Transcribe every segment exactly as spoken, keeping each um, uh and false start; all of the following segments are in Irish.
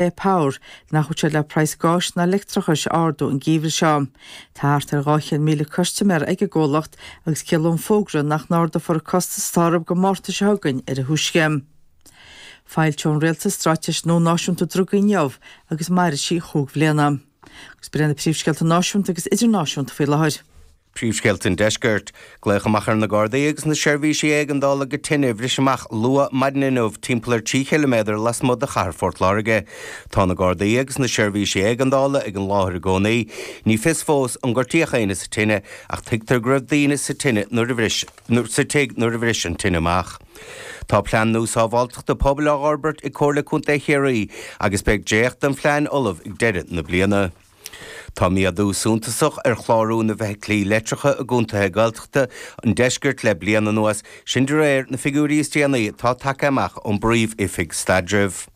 Power nach bhfuil sé le praghas gáis ná leictreachais a ardú an geimhreadh seo. Tá thart ar dhá chéad míle custaiméir ag an gcomhlacht agus ciallaíonn an fógra nach n-ardófar costas atá orthu go Márta seo chugainn ar a thúisce. Foilseoidh an Rialtas Straitéis Nua Náisiúnta Drugaí inniu agus mairfidh sí chúig bhliana. Agus b'in iad na príomhscéalta náisiúnta agus idirnáisiúnta faoi láthair. Príomhscéalta an Deiscirt. Glaodh amach ar na Gardaí agus na seirbhísí éigeandála go tine a bhris amach luath maidin inniu timpeall ar trí chiliméadar lasmuigh de chathair Phort Láirge. Tá na Gardaí agus na seirbhísí éigeandála ag an láthair i gcónaí. Ní fios fós an gortaíodh éinne sa tine ach tuigtear go raibh daoine sa tine nuair a bhris sa tigh nuair a bhris an tine amach. Tá plean nua sábháilteachta pobail á fhorbairt ag Comhairle Contae Chiarraí agus beidh dréacht den phlean ullamh ag deireadh na bliana. Tá méadú suntasach ar chlárú na bhfeithiclí leictreacha i gcontaetha Gaeltachta an deiscirt le bliain anuas, sin de réir na figiúirí is déanaí atá tagtha amach ón bPríomh-Oifig Staidrimh.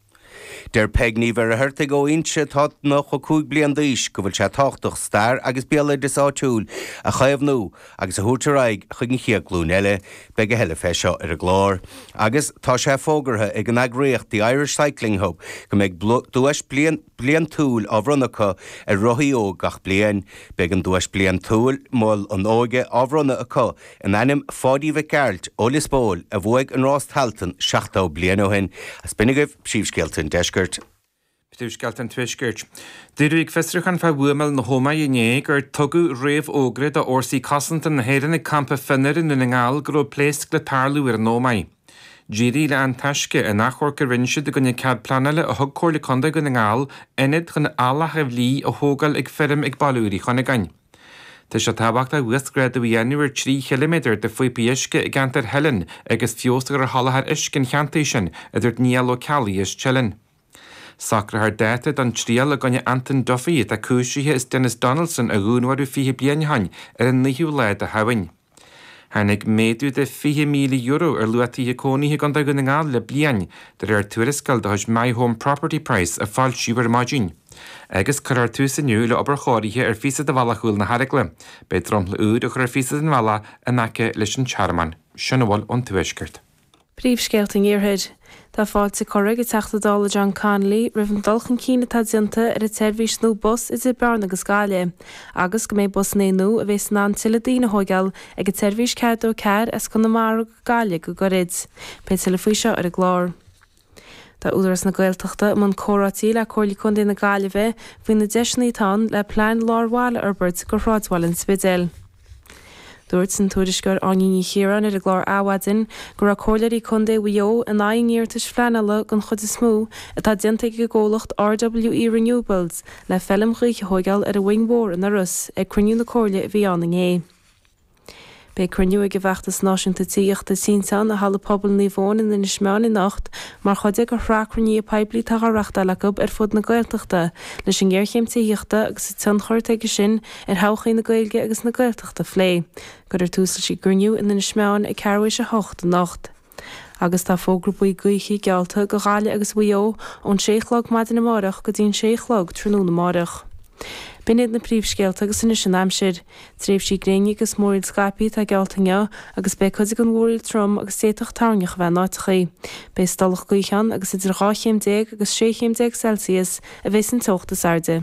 Deir Peig Ní Mhuircheartaigh ó Inse atá nócha cúig bliain d'aois go bhfuil sé tábhachtach stair agus béaloideas áitiúil a chaomhnú agus a thabhairt ar aghaidh chuig an chéad ghlúin eile. Beidh a thuilleadh fé seo ar an gclár. Agus tá sé fógartha ag an eagraíocht The Irish Cycling Hub go mbeidh duais bliantúil á bhronnadh acu ar rothaí óg gach bliain. Beidh an duais bliantúil, Mol an Óige, á bhronnadh acu in ainm Pháidí Mhic Gearailt ó Lios Póil a bhuaigh an rás Tailteann seachtó bliain ó shin. Is b'in agaibh príomhscéalta an deiscirt. Príomhscéalta an Tuaiscirt. Dúradh ag fiosrúchán fá bhuamáil na hÓmaí inné gur tugadh réamhfhógra do Fhórsaí Cosanta na hÉireann ag campa Fionnair i nDún na nGall go raibh pléasc le tarlú ar an Ómaigh. D'éirigh le An Taisce in achomharc a rinne siad i gcoinne cead pleanála a thug Comhairle Contae Dhún na nGall ionad chun eallach a bhlí a thógáil ag feirm ag Baile Úr Uí Chuinneagáin. Tá sé tábhachtach uasghrádú a dhéanamh ar trí chiliméadar de phíopaí uisce i gceantar Theilinn agus feabhas a chur ar sholáthar uisce an cheantair sin, a dúirt Niall Ó Ceallaigh as Teileann. Socrófar dáta don triail i gcoinne Anton Duffy atá cúisithe as Denis Donaldson a dhúnmharú fiche bliain ó shin ar an naoú lá de Shamhain. Tháinig méadú de fiche míle euro ar luach tithe cónaithe i gContae Dhún na nGall le bliain, de réir tuarascáil de chuid My Home Property Price a foilsíodh ar maidin. Agus cuirfear tús inniu le obair chóirithe ar phíosa de bhealach Chúil na hEaragla. Beidh dromchla úr á chur ar phíosa den bhealach in aice leis an Tearmann. Sin a bhfuil ón Tuaisceart. Príomhscéalta an Iarthair. Tá fáilte curtha ag an Teachta Dála John Connolly roimh an dul chun cinn atá déanta ar an tseirbhís nua bus idir Bearna agus Gaillimh, agus go mbeidh busanna nua a bheas in ann tuilleadh daoine a thóigeáil ag an tseirbhís ceathair dó ceathair as Conamara go Gaillimh go gairid. Beidh tuilleadh faoi seo ar an gclár. Tá Údarás na Gaeltachta i mbun comhráití le Comhairle Contae na Gaillimhe faoi na deiseanna atá ann le plean lár bhaile a fhorbairt do shráidbhaile an Spidéil. Dúirt an tuairisceoir Áine Ní Chiaráin ar an gclár Adhmhaidin go raibh comhairleoirí contae Mhaigh Eo in aghaidh an iarratais phleanála den chuid is mó atá déanta ag an gcomhlacht RWE Renewables le feilm ghaoithe a thóigeáil ar an Mhuing Mhór in Iorras ag cruinniú na comhairle a bhí ann inné. Beidh cruinniú ag an bhFeachtas Náisiúnta Tithíochta Tinteán i Halla Pobail Naomh Eoin in Inis Meáin anocht mar chuid de shraith cruinnithe poiblí atá á reáchtáil acu ar fud na Gaeltachta leis an ngéarchéim tithíochta agus an tionchar atá aige sin ar thodhchaí na Gaeilge agus na Gaeltachta a phlé. Cuirfear tús leis an gcruinniú in Inis Meáin ag ceathrú théis a hocht anocht. Agus tá fógra buí gaoithe geallta do Ghaillimh agus Mhaigh Eo ón sé a chlog maidin amárach go dtí an sé a chlog tráthnóna amárach. B'in iad na príomhscéalta agus anois an aimsir. Tréimhsí gréine agus múraíl scaipthe atá geallta inniu agus beidh cuid den mhúraíl trom agus d'fhéadfadh toirneach a bheith in áiteachaí. Beidh stolladh gaoithe ann agus idir dhá chéim déag agus sé chéim déag Celsius a bheas an teocht is airde.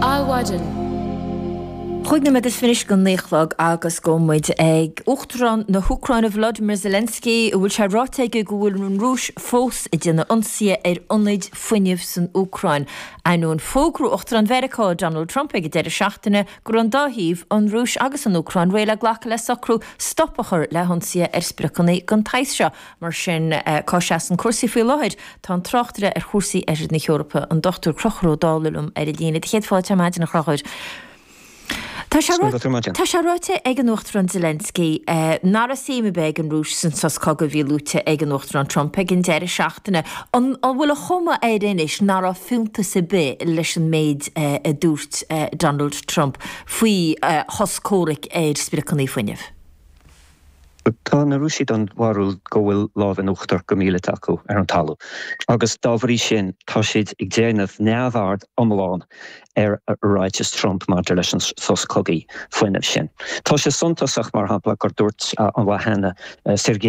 Adhmhaidin. Chúig nóiméad is fiche anois go naoi a chlog agus gabhfaidh muid ag Uachtarán na hÚcráine Volodymyr Zelensky a bhfuil sé ráite aige go bhfuil an Rúis fós ag déanamh ionsaithe ar ionaid fuinnimh san Úcráin. Ainneoin fógra Uachtarán Mheiriceá Donald Trump ag an deireadh seachtaine go raibh an dá thaobh, an Rúis agus an Úcráin, réidh le glacadh le socrú stop a chur le hionsaithe ar spriocanna den tsaghas seo. Mar sin, cá seasann cúrsaí faoi láthair? Tá an tráchtaire ar chúrsaí Oirthear na hEorpa, an Dochtúir Conchúr Ó Dálaigh liom ar an líne. Do chéad fáilte ar maidin, a Chonchúir. Tá sé Tá sé ráite ag an Uachtarán Zelensky nach raibh suim ar bith ag an Rúis san sos cogaidh a bhí luaite ag an Uachtarán Trump ag an deireadh seachtaine. An bhfuil an chuma air anois nach raibh fiúntas ar bith leis an méid a dúirt Donald Trump faoi shos comhraic ar spriocanna fuinnimh? Tá na Rúisigh den bharúil go bhfuil lámh in uachtar go míleata acu ar an talamh. Agus dá bhrí sin tá siad ag déanamh neamhaird iomlán ar ráiteas Trump maidir leis an sos cogaidh fuinnimh sin. Tá sé suntasach mar shampla gur dúirt an lá cheana Sergei